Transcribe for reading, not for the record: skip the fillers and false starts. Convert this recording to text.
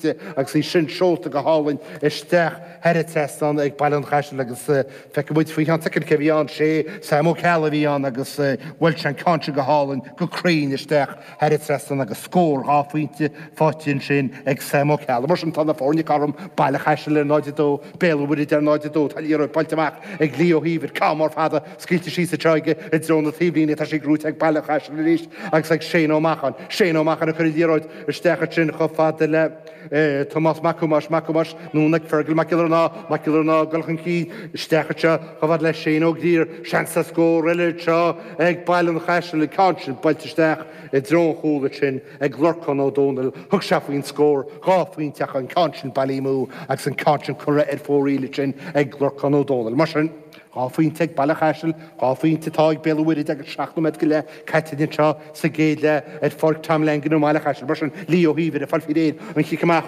Agus í sin seolta go hálainn isteach thar an trasnán ag Baile an Chaisil agus feicfidh muid faoi cheann soicind cé a bhí ann. Sé Sam Ó Ceallaigh a bhí ann agus bhuail sé an ceann sin go hálainn, go cruinn isteach thar an trasnán agus scór 2 phointe faighte ansin ag Sam Ó Ceallaigh. Mar sin tá na foirne cothrom, Baile Chaisil ar 0-2, Béal an Mhuirthead ar 0-2. Tá liathróid buailte amach ag Leo Ó hÍomhair, ceann mór fada scaoilte síos anseo aige i dtreo na taobhlíne. Tá sí gnóite ag Baile an Chaisil arís agus ag Shane Ó Macháin. Shane Ó Macháin ag cur an liathróid Isteach ansin chomh fada le Tomás Mac Thomáis, Mac Thomáis, anonn ag Fergal Mac Giollarnáth, Mac Giollarnáth ag dul chun cinn, isteach anseo chomh fada le Shane Ó Grier, seans ar scór eile anseo ag Baile an Chaisil, an ceann sin buailte isteach i dtreo an chúil ansin ag Lorcán Ó Dónaill, thug sé faoin scór, 2 phointe ach an ceann sin bailithe amú agus an ceann sin curtha ar fóraoil ansin ag Lorcán Ó Dónaill. Mar sin. 2 phointe ag Baile Chaisil, 2 phointe atá ag Béal an Mhuirthead agus 7 nóiméad go leith caite anseo sa gcéad leath ar Pháirc Tom Langan i mBaile Chaisil. Mar sin, Leo Ó hÍomhair ag fáil faoi réir an chic amach.